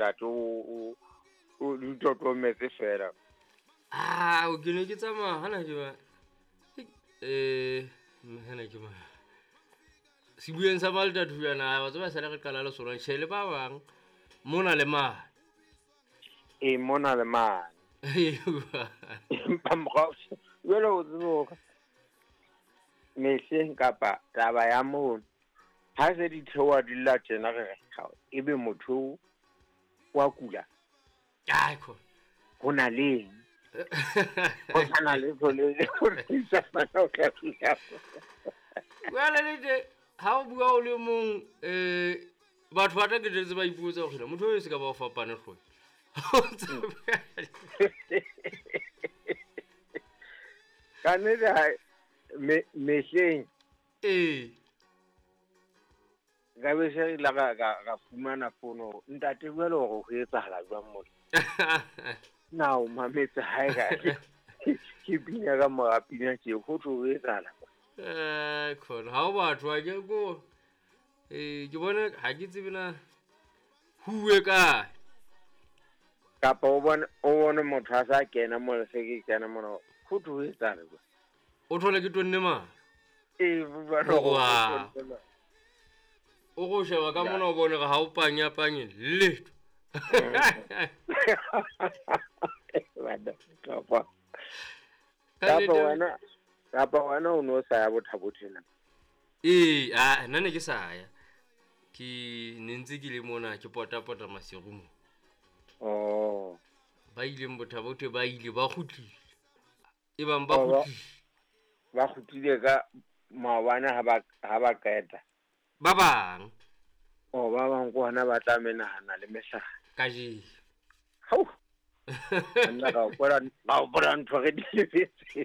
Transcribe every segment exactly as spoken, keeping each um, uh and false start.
Ntate o o di totometse fela. Ah, o ke ne ke tsamaya hana ke ba eh hana ke ma sebueng sa Malta thuyana ba tseba sale re qala le sona tjhe le ba bang mona le mane. E mona le mane. Empa morao jwale o tsebe hore mehleng kapa taba ya mono ha se di theoha di lla tjena re re ebe motho wa kula. Ai ko. Ho na le eng? Ho na le le Jwale le te ha o bua o le mong eh batho ba tla ke tse ba ipotsa hore motho o se ka ba o fapane hlooho. Ka nnete ha me mehleng eh ka be se la ga ga fumana fono ntate jwale hore ho etsahala jwang mona. Na o mametse hae ka ke bina ka mora pina tje ho tlo ho etsahala. Eh khona ha o batho a ke ko eh ke bone ha ke tsebe na huwe ka kapa o bone o bone motho a sa kena mo se ke kena mona ho tlo ho etsahala jwang. O thole ke tonne ma e ba no o go sheba ka mona o bone ga o panya panye letho. Kapa kapa wena kapa wena o no sa ya bothabothena. Ee, a nna ne ke sa ya. Ke ne ntse ke le mona ke pota pota masiru mo. Oh. Ba ileng bothabothe ba ile ba kgutlile. E bang ba kgutlile. Ba kgutlile ka maobane ha ba ha ba qeta. Ba bang. Oh, ba bang ko hona ba tla menahana le mehlala. Kajeno. Hau. Nna ka hopola ka hopola ntho re di lebetse.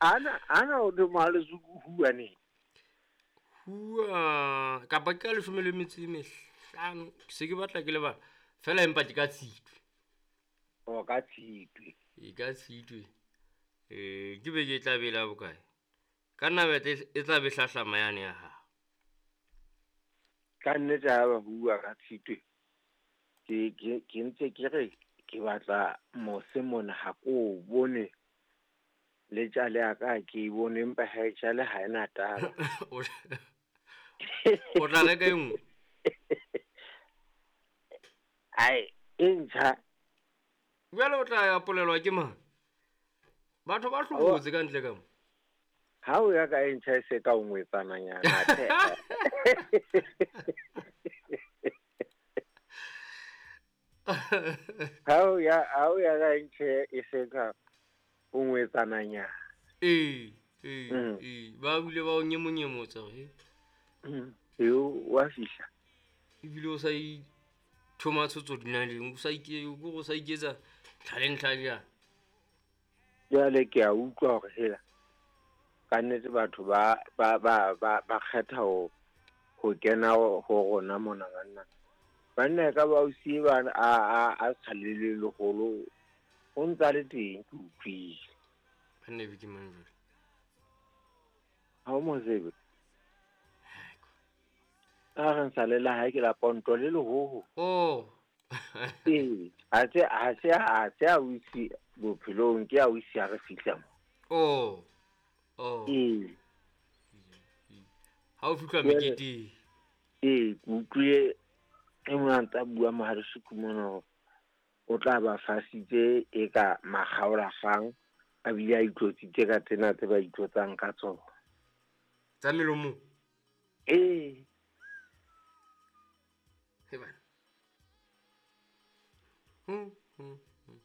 Ana ana o de malezuku huwa ne. Huwa kapa ke ka leshome le metso e mehlano ke se ke batla ke lebala fela empa ke ka Tshitwe. O ka Tshitwe. E ka Tshitwe. Eh ke be ke tla bela bokae? Ka nna bete e tla be hlahlama yane ya hao. Ka nnete ha ba bua ka Tshitwe ke ke ke ntse ke re ke batla mose mona ha ko bone le tjale ya ka ke bone empa ha e tjale ha ena taba. O tla reka e nngwe? Ai e ntjha. Jwale o tla ya polelwa ke mang? Batho ba hlobotse ka ntle ka mo. Ha o ya ka e ntjha e se ka o ngwetsananyana. Ha o ya ha o ya ka e ntjha e se ka o ngwetsananyana. Ee, ee, ee, ba bile ba o nyemonyemotsa he. Eo wa fihla. Ebile o sa ithoma tshotso dinaleng, o sa ike o sa iketsa tlhaleng tlhaja. Jwale ke a utlwa hore hela ka nnete batho ba ba ba ba ba kgetha ho ho kena ho rona mona banna. Banna ka ba o siye ba a a a sa le le leholo o ntsa le teng ke utlwile. Banna be ke mang jwale? Ha o mo tsebe. A re nsa le la hae ke la ponto le lehoho. Oh. Ee, ha se ha se ha se a wisi bophelong ke a wisi ha re fihla mo. Oh. Oh. Ee. Ha o fihla meketeng. Ee, ke utlwile e mong a ntsa bua mohalesuku mona o tla ba fasitse e ka makgaolakgang a bile a itlotsitse ka tsena tse ba itlotsang ka tsona. Tsa melomo? Ee. He bana. Hmm, hmm, hmm.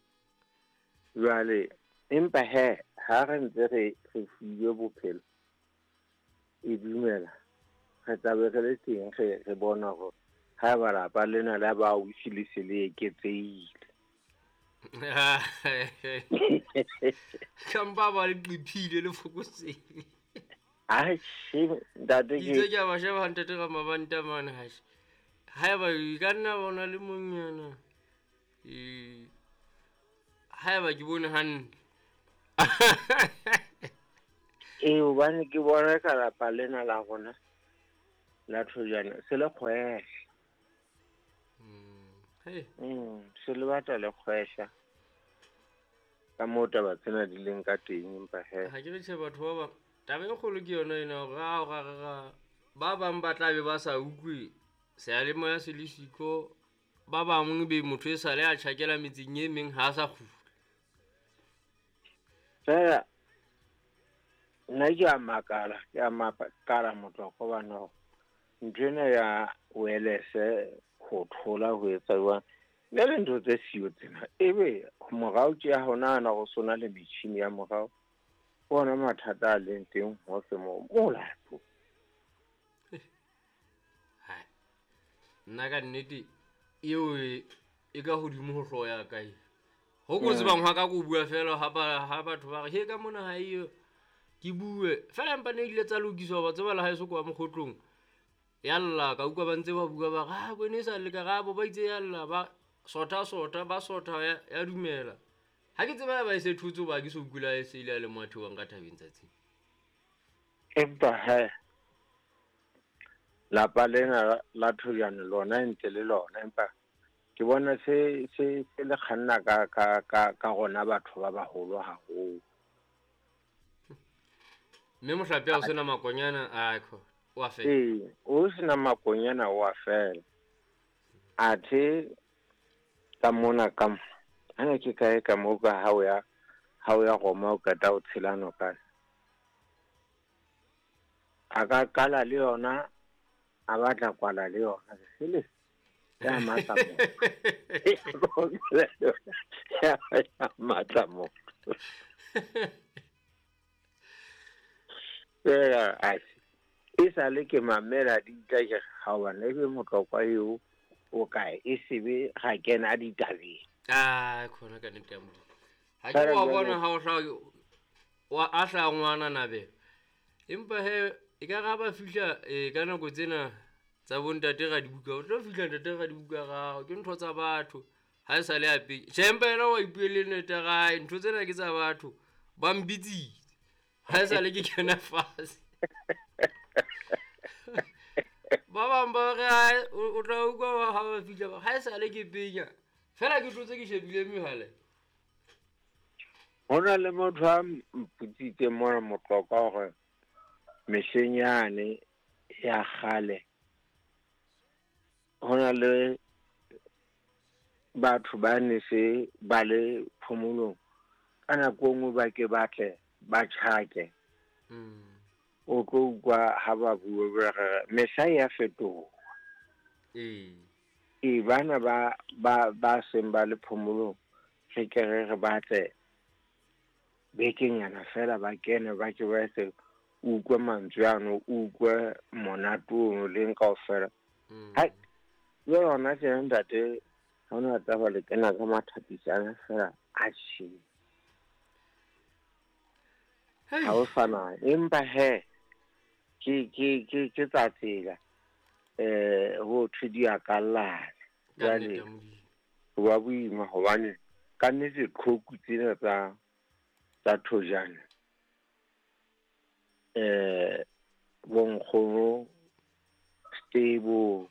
Jwale empa he ha re ntse re re filwe bophelo e dumela re tla be re le teng re re bona hore ha ba lapa lena la ba ausi le se le eketsehile. Kampa ba le qiphile le fokotsehile. Ai she ntate ke itse ke a ba sheba ntate ka mabanta mane ha she. Haeba e ka nna bona le monyana. E haeba ke bone hantle. Ee, hobane ke bona ka lapa lena la rona la Thojane se le kgwehla. Mm. Hey. Mm, se le batla le kgwehla. Ka moo taba tsena di leng ka teng empa he. Ha ke re tjhe batho ba bang. Taba e kgolo ke yona ena hore ha o ra re ra ba bang ba tla be ba sa utlwe seyalemoya se le siko, ba bang be motho e sale a tjhakela metseng e meng ha a sa kgutla. Fela nna ke a makala, ke a makala motloko bana hore ntho ena ya wireless ho thola ho etsa jwang. Le le ntho tse siyo tsena ebe morao ke ya ho nahana ho sona le metjhini ya morao bona mathata a leng teng hohle moo molato. Hai, nna ka nnete eo e, e ka hodimo ho hlooho ya ka e. Ho ko tsebang hwa ka ko bua fela ha ba, ha batho ba re he ka mona ha eyo ke bue fela, empa ne ile tsa lokiswa ba tseba le ha eso kwa mokgotlong ya lla ka utlwa ba ntse ba bua ba re ha bone sa le ka rabo ba itse ya lla ba sotha sotha ba sotha ya, ya dumela. Ha ke tseba ba e se thutse ba ke so kula e se ile le motho wa nka thabeng tsatsi. Empa he lapa lena la Thojane lona ntse le lona, empa ke bona se se se le kganna ka ka ka ka rona batho ba baholo haholo. Mme mohlape ha o sena makonyana a kho wa fela. Ee, o sena makonyana wa fela. Athe ka mona ka mo ana ke kae ka mo ka ha o ya ha o ya Roma o qeta o tshela noka. A ka qala le yona a batla kwala le yona sele ya matla mo. Ya matla mo. Fela a e sale ke mamela ditla ke ha bana ebe motlokwa eo o kae e sebe ga kena ditabeng. Ah, khona ka nnete ya Modimo. Ha ke wa bona ha o hla wa a hla ngwana nabe. Empa he e ka ra ba fihla e ka nako tsena tsa bontate ra dibuka, o tlo fihla ntate ra dibuka ga ke ntho tsa batho. Ha e sale a pe. Tjhe, empa yena wa ipuele nnete ga ntho tsena ke tsa batho. Ba mbitsitse. Ha e sale ke kena fatshe. Ba bang ba re o tla utlwa ha ba fihla ba ha e sale ke penya. Fela ke tlotse ke shebile mehala. Ho na le motho a mpotsitse mona motlokwa hore mehleng yane ya kgale ho na le batho ba ne se ba le phomolong ka nako e nngwe ba ke batle ba tjhake. Mm. O tlo utlwa ha ba bua ba re mehla e a fetoha. Ee. E bana ba ba ba seng ba le phomolong re ke re re batle bekenyana fela ba kene ba ke ba se utlwe mantswe ano, utlwe monate ono leng kaofela. Mm. Hai, jwale hona tjena ntate ha hona taba le kena ka mathapisana fela a tjhe. Hei. Ha o sana empa he ke ke ke ke tsa tsela eh ho thwe di a kallana. Ka Jwale nnete ya Modimo. ho ba boima hobane ka nnete qhoku tsena tsa tsa Thojane eh bonkgono Stable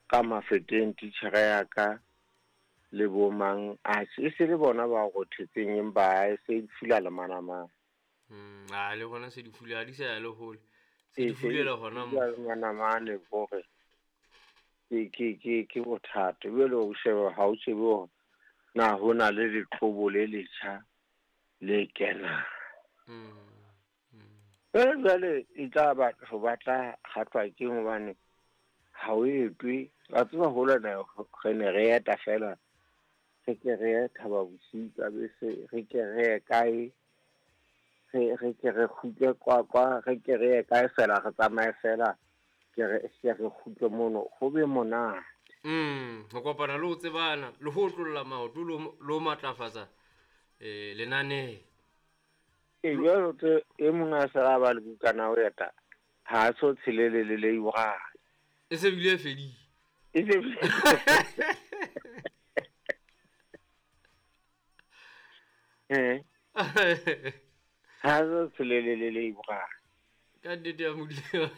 ka Mafeteng titjhere ya ka le bo mang a e se le bona ba rothetseng empa e se di fula le manamane. Mm, a le hona se di fula ha di sa ya le hole. Se E di se di fulela hona mo. fula le manamane hore ke ke ke ke bothata. Jwale o sheba ha o shebe hore na ho na le leqhobo le letjha le kenang. Mm. Mm. Jwale jwale e tla batho ba tla kgathwa ke hobane ha o etwe. Wa tseba hole na re ne re eta fela re ke re ye Thaba Bosiu ka bese, re ke re ye kae, re re ke re kgutle Qwaqwa, re ke re ye kae fela re tsamaye fela ke re ke re kgutle mono ho be monate. Mm, ho kopana le ho tsebana le ho otlolla maoto le ho le ho matlafatsa eh lenaneo. E jwalo tse e mong a se a ba le bukana ho eta ha a so tshelele le le one. E se bile e fedile. E se Eh. Ha so tshelele le le one. Ka nnete ya Modimo.